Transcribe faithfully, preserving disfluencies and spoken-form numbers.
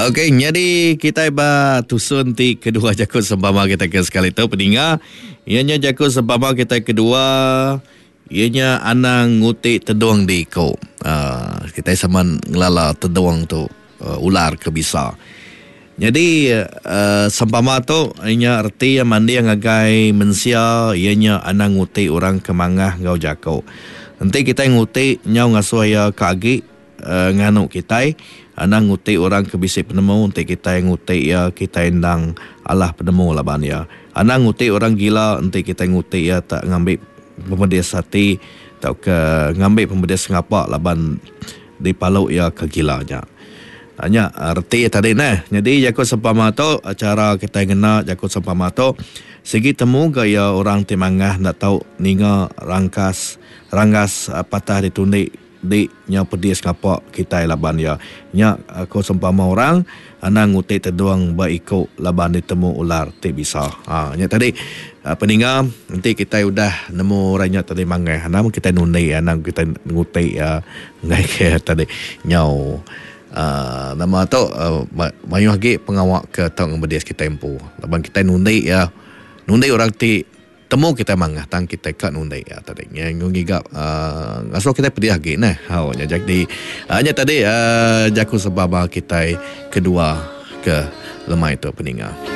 Okey, nyadi kitai ba tusun ti kedua jaku sempama kitai ke sekali tu peninga. Iya nya jaku sempama kitai kedua, iya nya anang nguti tedung di iku. Uh, kitai sama ngelala tedung tu uh, ular ke bisa. Nyadi uh, sempama tu nya reti iya manding ngagai mensia, iya nya anang nguti orang ke mangah enggau jaku. Enti kitai nguti nyau ngasuh iya ke agi uh, nganu kitai, anang nguti orang ke bisi penemu, enti kitai nguti iya kitai endang alah penemu laban iya. Anang nguti orang gila, enti kitai nguti iya tak ngambi pemedis ati tauka ngambi pemedis ngapa laban dipalu iya ke gila nya. Nya reti tadi neh. Jadi jaku sempama tu cara kitai ngena jaku sempama tu sigi temu ga iya orang ti mangah enda tau ninga rangkas ranggas patah ditundi di nyau pedis ngapa kitai laban iya. Nya ko sempama orang anang nguti tedung ba iku laban ditemu ular ti bisa. Ha nya tadi peninga enti kitai udah nemu orang nya tadi mangah anang kitai nundi anang kitai nguti iya enggai ke tadi nyau Uh, nama tu uh, mayuh agi pengawa ke tau ngemedis kitai empu laban kitai nundi ya, nundi orang ti temu kitai mangah tang kitai ka nundi ya tadi nya ngiga uh, ngasuh kitai pedih agi neh. Hau nya jadi uh, nya tadi uh, jaku sempama kitai kedua ke lemai tu peninga.